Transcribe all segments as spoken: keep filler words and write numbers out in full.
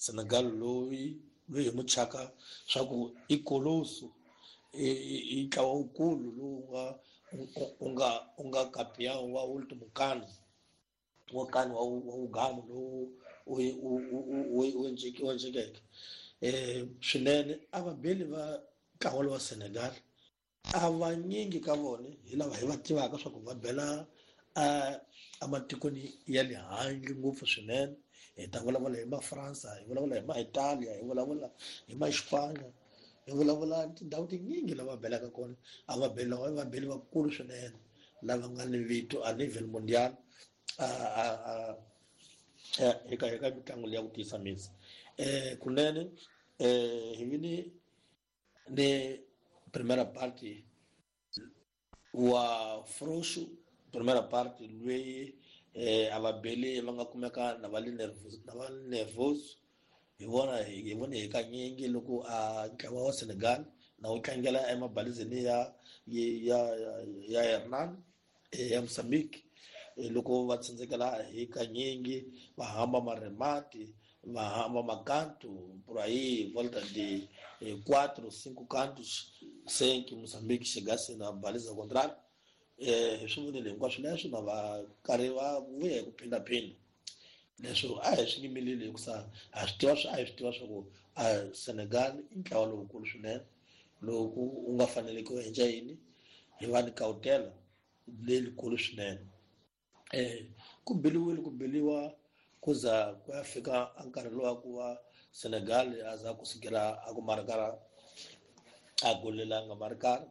Senegal loyi loyi hi muchaka swa ku i koloso i ntlawa wukulu lowu nga u nga u nga campeão wa último cano wa cano wa wa ugamo lowu u u u u endlekeke swinene. A vabeli va ntlawa lowa Senegal a vanyingi ka vona hi lava hi va tivaka swa ku va bela ematikweni ya le handle ngopfu swinene. Hi ta vulavula hi ma-France, hi vulavula hi ma-Italia, hi vulavula hi ma-Xipanya, hi vulavula tindhawu tinyingi lava belaka kona. A va beli lava va beli vakulu swinene lava nga ni vito a nivel mundial a a a eka eka mitlangu leyi ya ku tiyisa misi. um kunene um hi vini ni primera parte wa froxo primera parte loyi eh a va beli va nga kumeka na va le nervous na va nervous hi vona hi vone hi kanyingi loko a ntlawa wa Senegal na wu tlangela emabalizeni ya ya ya Hernan ya Mozambique loko va tsandzekela hi kanyingi va hamba maremati va hamba makanto por aí volta de quatro cinco cantos sem que Moçambique chegasse na baliza contrária. Eh swi vonile hinkwaswo leswo na va karhi va vuya hi ku phindaphinda leswo a hi swi yimeleli hikusa ha swi tiva a hi swi tiva swa ku a Senegal i ntlawa lowukulu swinene loko u nga faneleki u endla yini hi va ni kawutela leyikulu swinene. Eh ku biliwile ku biliwa ku za ku ya fika a nkarhi lowa ku va Senegal a za ku sukela a ku marikara a golelanga marikara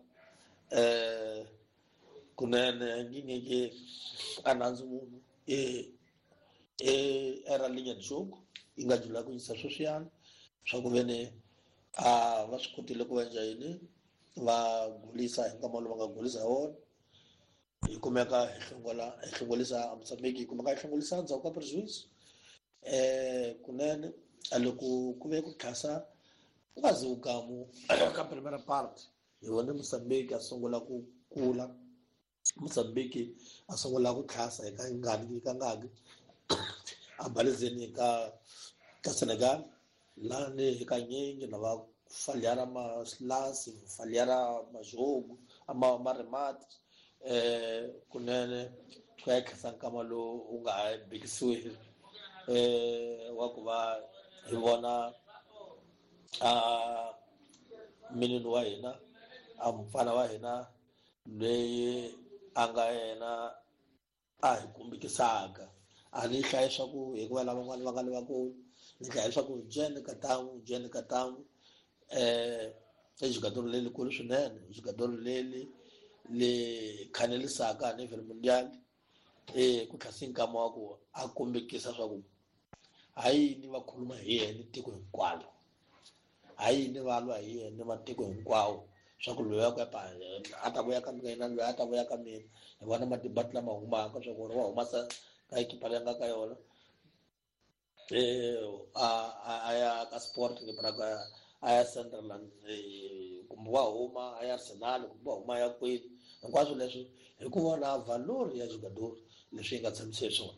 eh kunene ngingeke a nandzu munhu e e era linha de jogo yi nga jula ku yisa sweswiyani swa ku veni a va swi kotile ku endla yini va gulisa hi nkama lowu va nga gulisa hi wona hi kumeka hi hlongola hi hlongolisa Mozambique hi kumeka hi hlongolisa ndzhaku ka prejuízo. eh kunene a loko ku ve ku tlhasa quase o gamo ka primeira parte hi vone Mozambique a sungula ku kula Mozambique a sungula ku tlhasa hi ka ngani ka ngaki a balizeni ka ka Senegal lani hi kanyingi na va falhar maslance falhar majogo ama maremate eh kunene ku ya tlhasa nkama lowu wu nga ha bikisiwi eh wa ku va hi vona a minini wa hina a mufana wa hina leyi a nga yena a hi kumbekisaka a ni hlaya swa ku hikuva lavan'wana va nga le vakulu ni hlaya swa ku jene katangu jene katangu eh i jogador lelikulu swinene jogador leli le khanelisaka a nivel mundial eh ku tlhasi nkama wa ku a kombekisa swa ku ha yini va khuluma hi yena tiko hinkwalo ha yini va lwa hi yena matiko hinkwawo swa ku loyi a ku a ta vuya ka mina loyi a ta vuya ka mina hi vona madibati lama humaka swa ku ri wa humasa ka ekipa leyi nga ka yona eh a a ya ka Sport Braga a ya Sunderland kumbe wa huma a ya Arsenal kumbe wa huma a ya kwini hinkwaswo leswi hi ku vona valor ya jogador leswi yi nga tshamisa swona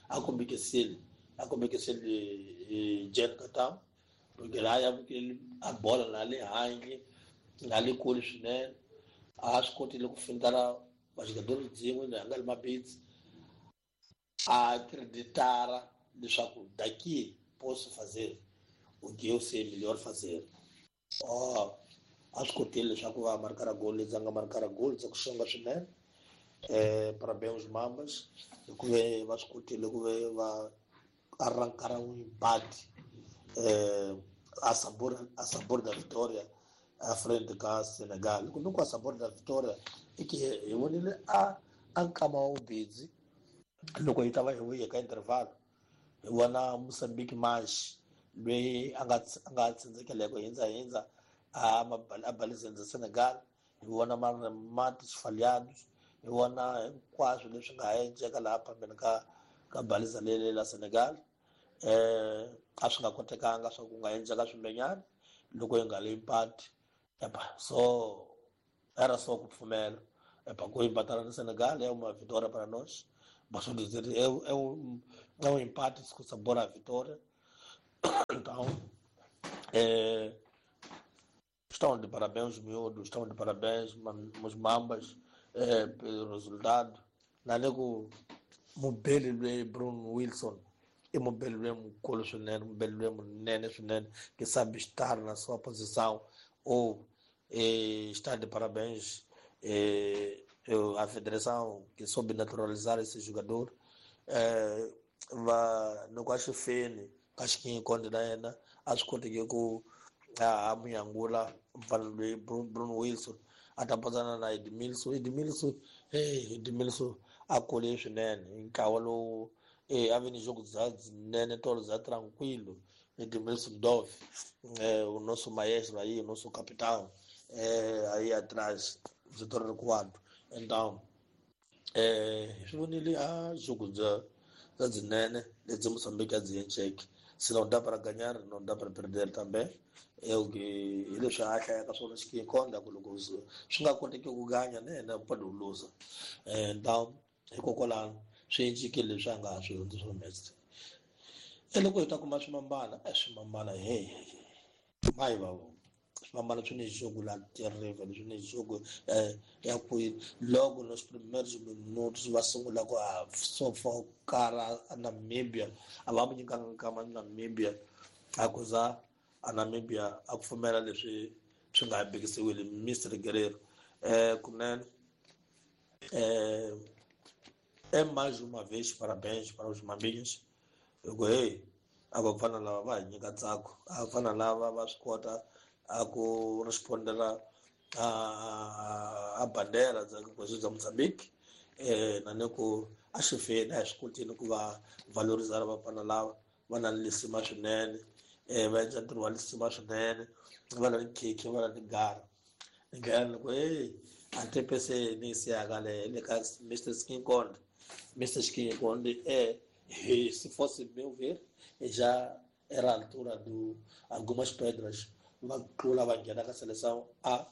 a kombekisile a kombekisile Jen Katam porque a ya vukeli a bola na le handle na le kule swinene a swi kotile ku fintana vajogador byin'we na nga le mabitsi a acreditara leswaku daqui posso fazer o que eu sei melhor fazer. Oh, a swi kotile leswaku va markara gol leti nga markara gol dza ku xonga swinene eh parabéns Mambas hikuva va swi kotile ku ve va arrancar um empate eh a sabor a sabor da vitória à frente ka Senegal kumbe ku a sabor da vitória i ke hi vonile a a nkama wa vubedzi loko hi ta va hi vuye ka interval hi vona Mozambique March loyi a nga a nga tsandzekeleko hindza hindza a a balizeni za Senegal hi vona marematis falhados hi vona hinkwaswo leswi nga ha endleka laha phambeni ka ka baliza lele la Senegal eh a swi nga kotekanga swa ku nga endleka swimbenyana loko hi nga le empate epa so era só ku pfumela epa ku empatana na Senegal é uma vitória para nós posso dizer é, é um é um empate com sabor à vitória. Então Eh, estão de parabéns os miúdos, estão de parabéns os mambas eh, pelo resultado. Nanego mubeli Bruno Wilson e mubeli mukolo swinene, mubeli munene swinene que sabe estar na sua posição ou eh, está de parabéns eh, a federação que soube naturalizar esse jogador. Eh, va loko a xi feni ka xikinyikonde na yena a swi koteki ku a munyangula mfana loyi Bruno Wilson a ta patsana na Edmilson. Edmilson hey Edmilson a kule swinene hi ntlawa lowu eh a vi ni jogo bya nene tolo bya tranquilo. Edmilson Dove eh o nosso maestro aí, o nosso capitão eh aí atrás, o setor recuado. Então eh swi vonile a jogo bya bya byinene lebyi Moçambique a byi endleke. Se não dá para ganhar, não dá para perder também. É o que hi leswi a hlayaka swona xikinkonda ku loko swi nga koteki ku ganya na yena pode luza. Então hikokwalano swi cincile leswi a nga ha swi hundzi swa messi. E loko hi ta kuma swimambana, e swimambana hey mayi va vona swimambana swi ni jogo la terrible, swi ni jogo ya ku loko nos primeiros minutos va sungula ku a sofokara a Namibia a va mu nyikanga nkama Namibia a ku za a Namibia a pfumela leswi swi nga bikisiwile Mister Guerrero. Eh kunene eh é mais uma vez parabéns para os maminhos. Loko hey a va fana lava va hi nyika ntsako, a fana lava va swi kota a ku respondela a a bandera bya bya Mozambique eh na ni ku a xi feni a hi swi kotini ku va valorizar vafana lava va na lisima swinene eh va endla ntirho wa lisima swinene, va na khekhe va na tigara ndlela loko hey a tepese ni siyaka le le ka Mister Skinkonde. Mister Skinkonde é se fosse meu ver já era a altura do algumas pedras va tlula va nghena ka seleção A.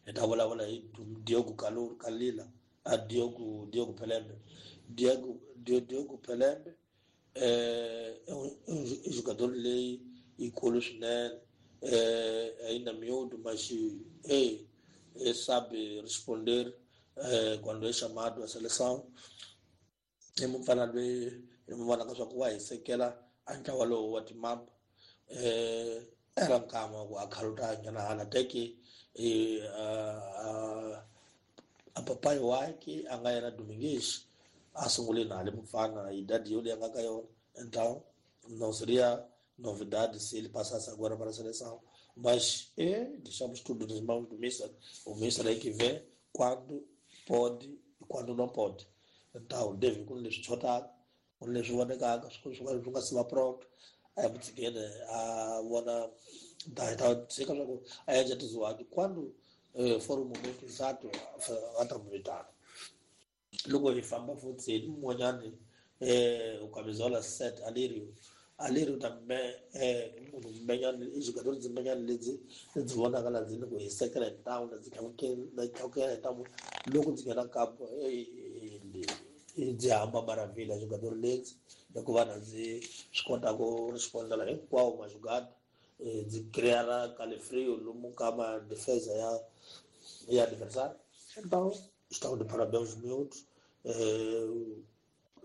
Hi ta vulavula hi Diogo Kalila a Diogo Diogo Pelembe. Diogo Diogo Pelembe é um jogador leyi yikulu swinene eh ainda miúdo, mas eh sabe responder eh quando é chamado à seleção. I mufana loyi hi mu vonaka swa ku wa hisekela a ntlawa lowu wa timamba eh era nkama ku a khaluta nyana hala teke eh a papai wakhe a nga yena Domingues a sungule na le mufana idade yoli a nga ka yona. Então não seria novidade se ele passasse agora para a seleção, mas é, deixamos tudo nas mãos do Mister. O Mister aí que vê quando pode e quando não pode. Então deve com leswi xotaka, ku leswi vonekaka swi nga si va pronto a hi mutshikeni a vona ta ta tshika swa ku a endla tiziwaki quando for o momento exato a ta mu vitana. Loko hi famba futhi hi mun'wanyani eh o camisola sete Alirio. Alirio também é munhu mbenyana i jogador byi mbenyana lebyi lebyi vonaka la ndzi loko hi sekela hi ntamu la ndzi tlakukela hi ntamu loko ndzi nghena kampo byi hamba maravilha jogador lebyi hikuva na ndzi swi kota ku respondela hinkwawo majugada ndzi creara calefrio lomu ka ma defesa ya ya adversário. Então estão de parabéns os miúdos. Eh,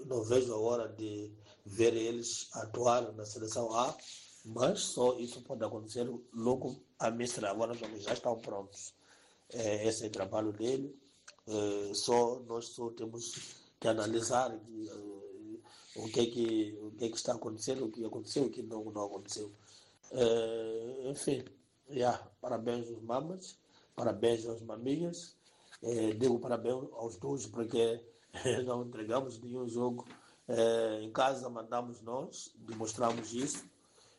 não vejo a hora de ver eles atuar na seleção A, mas só isso pode acontecer logo a Mistra. Agora os já estão prontos. É, esse é o trabalho dele. É, só nós só temos que analisar que, o que é que o que é que está acontecendo, o que aconteceu, o que não, não aconteceu. É, enfim, yeah, parabéns aos mamas, parabéns aos maminhas. É, digo parabéns aos dois porque não entregamos nenhum jogo. É, em casa mandamos nós, demonstramos isso,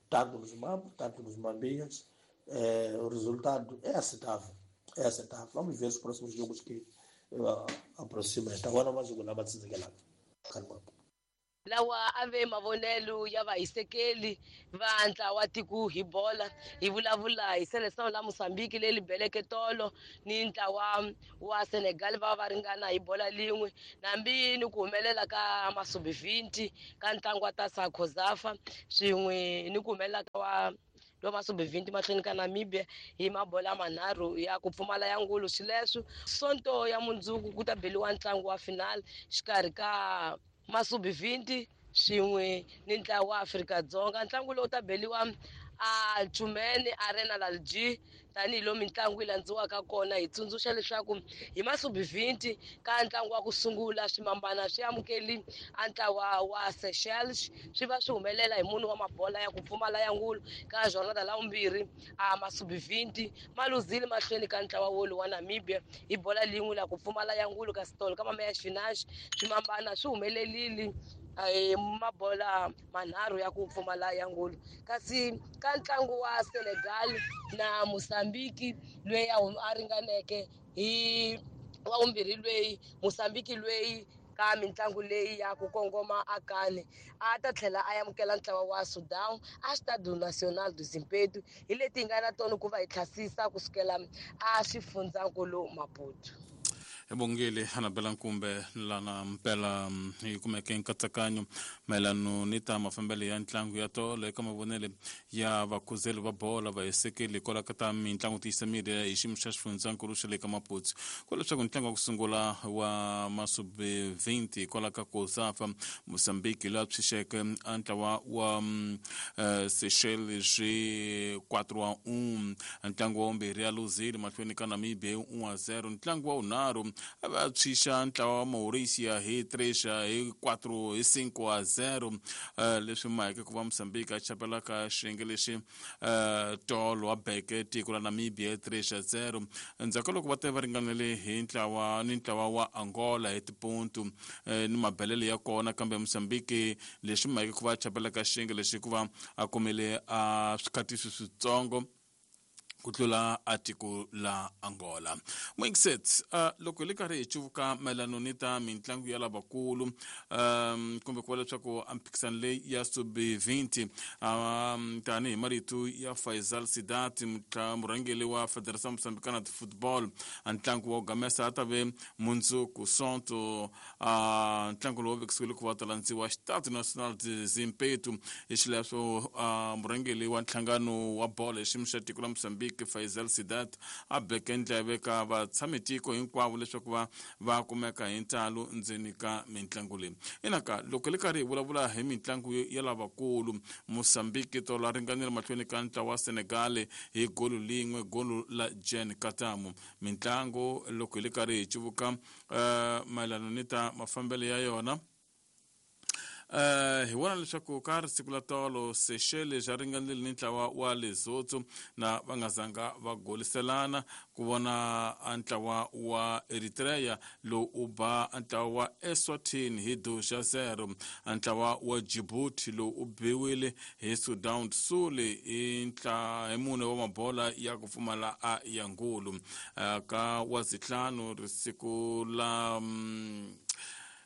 tanto nos mambos, tanto nos maminhas. É, o resultado é aceitável, é aceitável. Vamos ver os próximos jogos que aproxima. Agora mais jogo na Batsinzelana. Calma. Lawa a ve mavonelo ya vahisekeli va ntlawa tiko hi bola hi vulavula hi seleção la Mozambique leyi beleke tolo ni ntlawa wa Senegal va va ringana hi bola lin'we nambi ni ku humelela ka masubi vinti ka ntlangu wa ta Sakozafa swin'we ni ku humelela ka wa lowa Masubi mahlweni ka Namibia hi mabola manharhu ya ku pfumala ya ngulu. Xileswo Sonto ya mundzuku ku ta beliwa ntlangu wa final xikarhi ka Masubi swin'we ni ntlawa wa Afrika-Dzonga. Ntlangu lowu ta beliwa a Chumene Arena Lalji tanihiloko mitlangu yi landziwaka kona. Hi tsundzuxa leswaku hi Masubi ka ntlangu wa ku sungula swimambana swi amukeli a ntlawa wa Seychelles, swi va swi humelela hi munhu wa mabola ya ku pfumala ya ngulu. Ka jornada la vumbirhi a Masubi ma luzile mahlweni ka ntlawa wolu wa Namibia hi bola lin'we la ku pfumala ya ngulu. Kasi tolo ka Mameya Xinax swimambana swi humelelile mabola manharhu ya ku pfumala ya ngulu. Kasi ka ntlangu wa Senegal na Mozambique loyi a ringaneke hi wa vumbirhi loyi Mozambique loyi ka mitlangu leyi ya ku kongoma akani a ta tlhela a amukela ntlawa wa Sudan a Stade National do Zimpeto. Hi leti hi nga na tona ku va hi tlhasisa kusukela a xifundzankulu Maputo. Ebongile Anabela Nkumbe lana mpela hi kumeke nkatsakanyo mayelano ni ta mafambelo ya ntlangu ya tolo eka mavonele ya vakhuzeli va bola va hisekeli kwala ka ta mitlangu tiyisa miri hi xiyimo xa xifundzankulu xa le ka Maputo. Ku leswaku ntlangu wa ku sungula wa Masubi twenty kwala ka Kosafa Mozambique laha tshixeke a ntlawa wa Seychelles hi quatro a um, ntlangu wa vumbirhi ya luzile mahlweni ka Namibia hi un a zero, ntlangu wa vunharhu a va tshwixa ntlawa wa Mauricia hi três hi quatro hi cinco a zero. Leswi maheke ku va Mozambique a chapela ka xiyenge lexi tolo wa beke tiko la Namibia hi três a zero. Endzhaku ka loko va te va ringanele hi ntlawa ni ntlawa wa Angola hi tipontu ni mabelele ya kona, kambe Mozambique leswi maheke ku va chapela ka xiyenge lexi ku va a kumile a swikhatisi switsongo ku tlula a tiko la Angola. Mwingiset, uh, loko hi le karhi hi cuvuka mayelano ni ta mitlangu ya lavakulu um, kumbe ku va leswaku a mphikisano leyi ya sub twenty um, tanihi marito ya Faisal Sidat murhangeri wa Federação Moçambicana de Football, a ntlangu wa ku gamesa a ta ve mundzuku Sonto. uh, ntlangu lowu vekisiwile ku va ta landziwa Stade National de Zimpeto. Hi xileswo uh, murhangeri wa nhlangano wa bolo hi xiyimo xa tiko la Mozambique Faisal Sidat a beke ndleve ka vatshamitiko hinkwavo leswaku va va kumeka hi ntalo ndzeni ka mitlangu leyi. Inaka loko le karhi hi vulavula hi mitlangu ya lavakulu, Mozambique tolo a ringanile mahlweni ka ntlawa wa Senegal hi golo lin'we, golo la Jen Katamu. Mitlangu loko hi le karhi hi cuvuka uh, mayelano ni ta mafambelo ya yona, Uh, hi vona leswaku ka risiku la tolo Seychelles ja ringanile ni ntlawa wa Lesotho na va nga zanga va goliselana ku vona a ntlawa wa Eritrea lowu u ba a ntlawa wa Eswatini hi dois a zero, a ntlawa wa Djibouti lowu u biwile hi Sudan Sul hi ntla hi mune wa mabola ya ku pfumala a ya ngulu. Uh, ka wa zitlhanu risiku la um,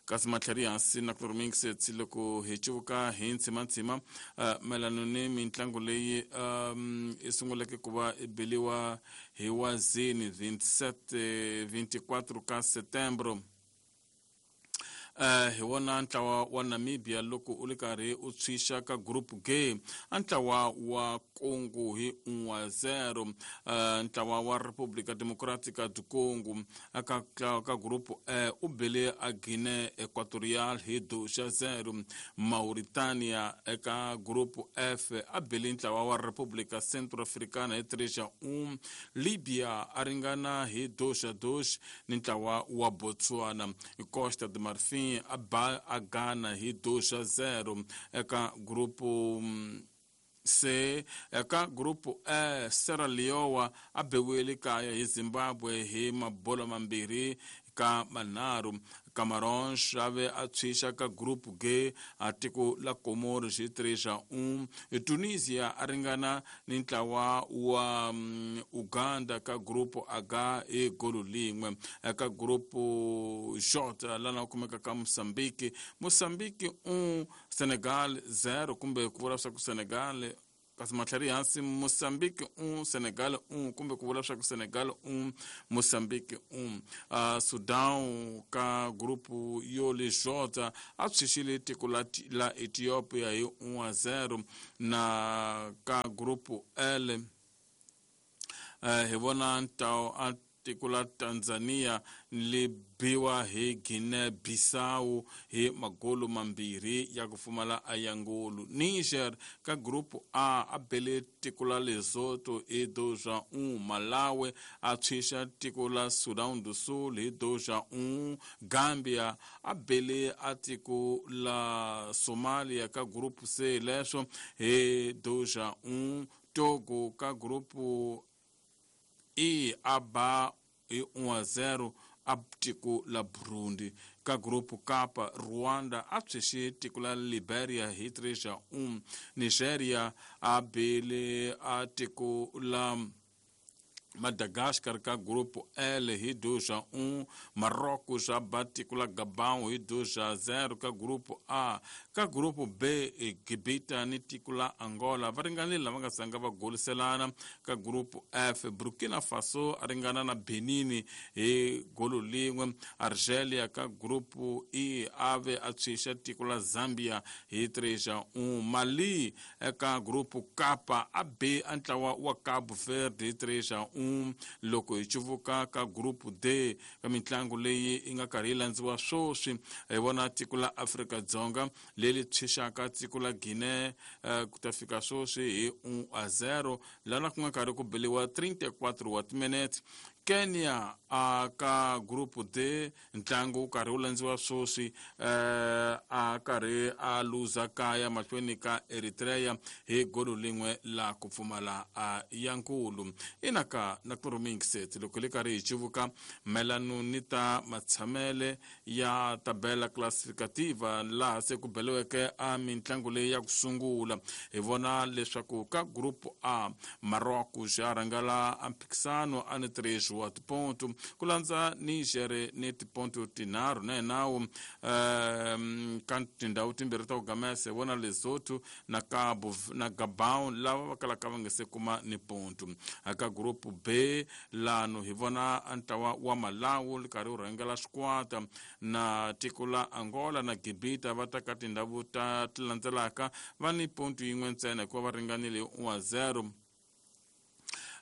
kasi matlhari hansi na ku rimingsetsi loko hi cuvuka hi ntsimantsima uh, mayelano ni mitlangu leyi um, i sunguleke ku va i beliwa hi wazini twenty-seven twenty-four ka Setembro. Uh, hi wona ntlawa wa Namibia loko u le karhi u tshwixa ka group G a ntlawa wa Congo hi un a zero, uh, ntlawa wa República Democrática do Congo ka, ka, ka group E u bele a Guinea Equatorial hi dois a zero, Mauritania eka group F a bele ntlawa wa República Centro-Africana hi três a um, Libya a ringana hi dois a dois ni ntlawa wa Botswana, Costa de Marfim a ba a Ghana hi dois a zero eka grupo C. Eka grupo E Sierra Leone a biwile kaya hi Zimbabwe hi mabola mambirhi ka manharhu. Camarões ave a tshwixa ka group G a tiko la Comoros hi três a um, Tunisia a ringana ni ntlawa wa um, Uganda ka group H hi golo lin'we. Eka group J lana kumeka ka Mozambique, Mozambique um, Senegal zero, kumbe ku vula swa ku Senegal kasi matlhari hansi Mozambique un Senegal un kumbe ku vula swa ku Senegal un Mozambique un uh, Sudan ka grupu yo le Jota a tshixile tiko la, la Ethiopia hi un a zero na ka grupu L uh, hi vona ntao a tiko la Tanzania li biwa hi Guinea Bissau hi magolo mambirhi ya ku pfumala ayangolo. Niger ka grupu A a bele tiko la Lesotho hi dois a um, Malawi a tshwixa tiko la Sudan do Sul hi dois a um, Gambia a bele a tiko la Somalia ka grupu C leswo hi dois a um, Togo ka grupu E a ba hi um a zero a tiko la Burundi. Ka grupu K Rwanda a tshwixe tiko la Liberia hi três a um, Nigeria a bele a tiko la Madagascar ka grupo L hi dois a um, Marrocos a ba tiko la Gabão hi dois a zero ka grupo A. Ka grupo B Gibita ni tiko la Angola va ringanile lava nga sanga va goliselana. Ka grupo F Burkina Faso a ringana na Benin hi golo lin'we. Argelia ka grupo E ave a tshwixa tiko la Zambia hi três a um. Mali eka grupo K a B a ntlawa wa Cabo Verde hi três a um. Loko hi cuvuka ka grupu D ka mintlangu leyi yi nga karhi yi landziwa swoswi hi vona tiko la Afrika-Dzonga leri tshwixaka tiko la Guinea uh, ku ta fika swoswi hi un a zero lana ku nga karhi ku beliwa trinta e quatro wa timinete. Kenya a ka grupu D ntlangu wu karhi wu landziwa swoswi uh, a karhi a luza kaya mahlweni ka Eritrea hi golo lin'we la ku pfumala a ya nkulu. Ina ka na kurumingiset loko li karhi hi cuvuka mayelano ni ta matshamele ya tabela classificativa laha se ku beliweke a mintlangu leyi ya ku sungula. Hi vona leswaku ka grupu A Marrocos ya rhangela a mphikisano a ni três wa tiponto ku landza Niger ni tiponto tinharhu na hinawu um, ka tindhawu timbirhi ta ku gamesa hi vona Lesotho na Cabo na Gabon lava va kalaka va nga se kuma ni ponto. Ka grupu B lano hi vona ntlawa wa Malawi li karhi wu rhangela swikwata na tiko la Angola na Gibita va ta ka tindhawu ta ti landzelaka va ni ponto yin'we ntsena hikuva va ringanile un a zero.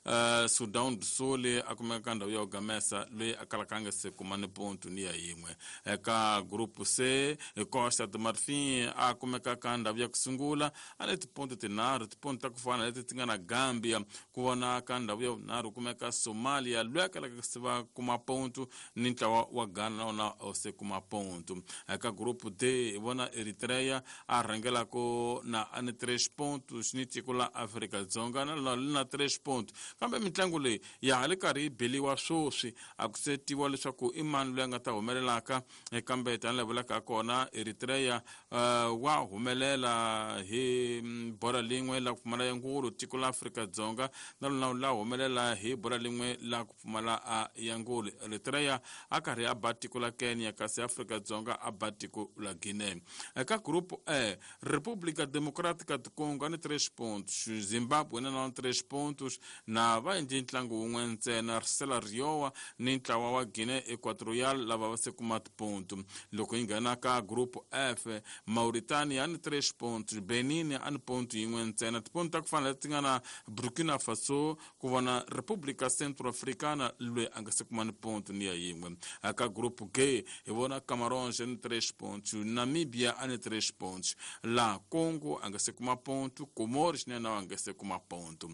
Uh, Sudan do Sul a kumeka ka ndhawu ya ku gamesa loyi a kalaka a nga se kuma ni ponto ni ya yin'we. Eka grupu C Costa do Marfim a kumeka ka ndhawu ya ku sungula a ni tiponto tinharhu, tiponto ta ku fana leti ti nga na Gambia. Ku vona ka ndhawu ya vunharhu kumeka Somalia loyi a kalaka se va kuma ponto ni ntlawa wa Ghana na wona a se kuma ponto. Eka grupu D hi vona Eritrea a rhangelaka na a ni três pontos ni tiko la Afrika-Dzonga na lona li na três pontos. Kambe mintlangu leyi ya ha li karhi yi beliwa swoswi a ku se tiviwa leswaku i mani loyi a nga ta humelelaka, kambe tanihi vulaka kona Eritrea uh, wa humelela hi bora lin'we la ku pfumala ya ngulu. Tiko la Afrika-Dzonga na lona la humelela hi bora lin'we la ku pfumala a ya ngulu. Eritrea a karhi a ba tiko la Kenya kasi Afrika-Dzonga a ba tiko la Guinea. Eka grupu E República Democrática do Congo a ni três pontos, Zimbabwe na na três pontos na va endli ntlangu wun'we ntsena. Sierra Leone ni ntlawa wa Guinea Equatorial lava va se kuma tiponto. Loko yi nghena ka grupu F Mauritania ni três pontos, Benin a ni ponto yin'we ntsena, tiponto ta ku fana leti nga na Burkina Faso ku vona República Centro-Africana loyi a nga se kuma ni ponto ni ya yin'we. Ka grupu G hi vona Camarões ni três pontos, Namibia a ni três pontos, la Congo a nga se kuma ponto, Comores na yena a nga se kuma ponto.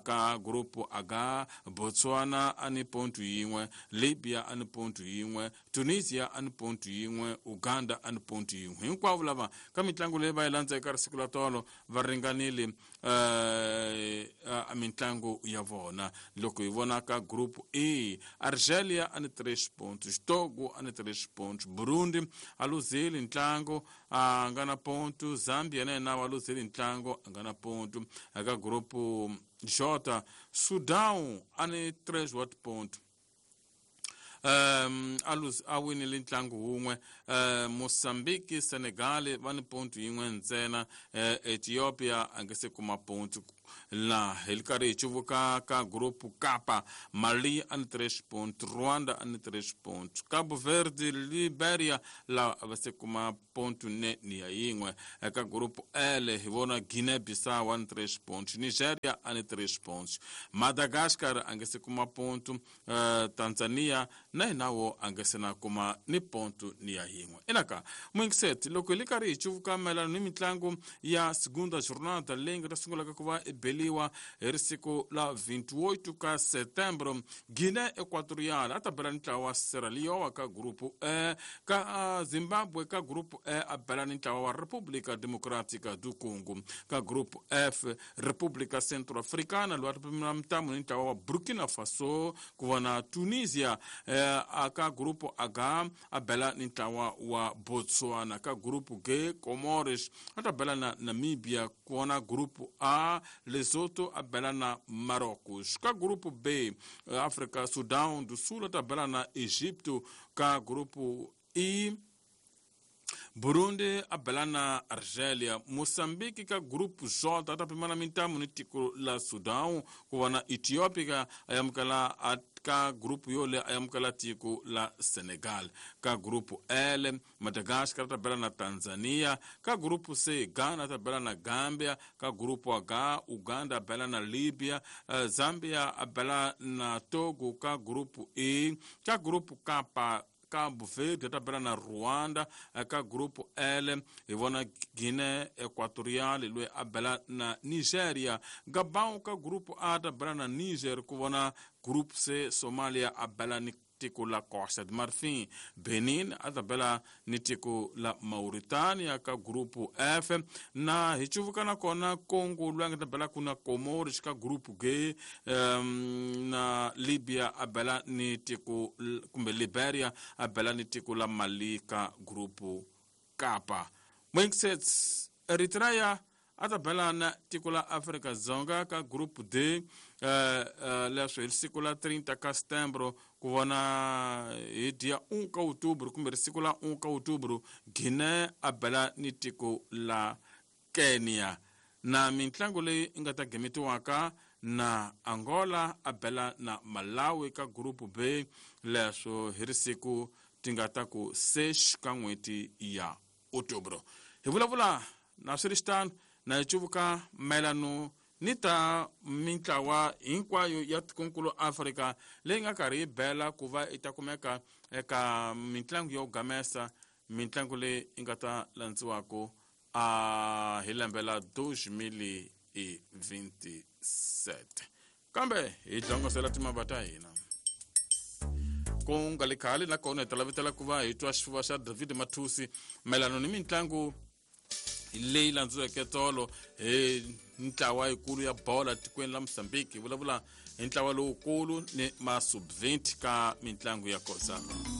Ka grupu H Botswana a ni ponto yin'we, Libya a ni ponto yin'we, Tunisia a ni ponto yin'we, Uganda a ni ponto yin'we. Hinkwavo lava ka mitlangu leyi va yi landza eka siku la tolo va ringanile uh, mintlangu ya vona. Loko hi vona ka grupu E Argelia a ni três pontos, Togo a ni três pontos, Burundi a luzile ntlangu a nga na ponto, Zambia na yena wa luzile ntlangu a nga na ponto. Eka grupu J Sudan a ni três wa tiponto, um a winile ntlangu wun'we. uh, Mozambique Senegal va ni ponto yin'we ntsena, uh, Ethiopia a nga se kuma ponto. La hi ri karhi hi cuvuka ka grupu Kapa, Mali a ni três pontos, Rwanda a ni três pontos, Cabo Verde, Liberia la va se kuma ponto ne ni ya yin'we. Eka grupu L hi vona Guinea-Bissau a ni três pontos, Nigeria a ni três pontos, Madagascar a nge se kuma ponto, uh, Tanzania na hina wo a nge se na kuma ni ponto ni ya yin'we. Inaka mwingiseti loko hi ri karhi hi cuvuka mayelana ni mitlangu ya segunda jornada leyi nga ta sungulaka ku va beliwa hi risiku la vinte e oito ka setembro, Guinea Equatorial a ta bela ntlawa wa Sierra Leone ka grupu E, ka Zimbabwe ka grupu E a bela ntlawa wa República Democrática do Congo, ka grupu F República Centro-Africana loyi a ta pimela mitamu ni ntlawa wa Burkina Faso, ku vona Tunisia eh, ka grupu H a bela ni ntlawa wa Botswana, ka grupu G Comores a ta bela na Namibia, ku vona grupu A Lesotho a bela na Marrocos, ka grupu B África Sudão do Sul a ta bela na Egipto, ka grupu I Burundi a bela na Argélia, Moçambique ka grupo J ta pimana mintamu ni tiko la Sudão, ku vona Etiópia a yamukela a ka grupo yole a yamukela tiko la Senegal, ka grupo L Madagascar ta bela na Tanzania, ka grupo C Ghana ta bela na Gambia, ka grupo H Uganda a bela na Libya, Zambia a bela na Togo, ka grupo E, ka grupo K Cabo Verde ta bela na Rwanda, ka grupo L hi vona Guinea Equatorial loyi a bela na Nigeria, Gabon ka grupo A ta bela na Niger, ku vona grupo C Somalia a bela ni tiko la Costa de Marfim, Benin a ta bela ni tiko la Mauritania ka grupo F, na hi cuvuka na kona Congo loyi a nga ta bela ku na Comores ka grupo G, um, na Libya a bela ni tiko kumbe Liberia a bela ni tiko la Mali ka grupo Kapa. Mwingisets Eritrea a ta bela na tiko la Afrika Dzonga ka grupo D, uh, uh, leswi hi siku la trinta ka setembro, ku vona hi dia um ka outubro kumbe siku la um ka outubro, Guinea a bela ni tiko la Kenya, na mintlangu leyi nga ta gemetiwaka na Angola a bela na Malawi ka grupo B, leswo hi risiku ti nga ta ku seis ka n'hweti ya outubro. Hi vulavula na swi ri xitano na hi cuvuka mayelano ni ta mintlawa hinkwayo ya tikonkulu Afrika leyi nga karhi yi bela ku va yi ta kumeka eka mintlangu yo gamesa, mintlangu leyi yi nga ta landziwaka a hi lembe la dois mil e vinte e sete. Kambe hi hlongosela timava ta hina ku nga le khale nakona hi ta lavetela ku va hi twa xifuva xa David Mathusi mayelano ni mintlangu leyi landziweke tolo hi ntlawa yikulu ya bola tikweni la Mozambique. Hi vulavula hi ntlawa lowukulu ni ma sub vinte ka mintlangu ya Kosafa.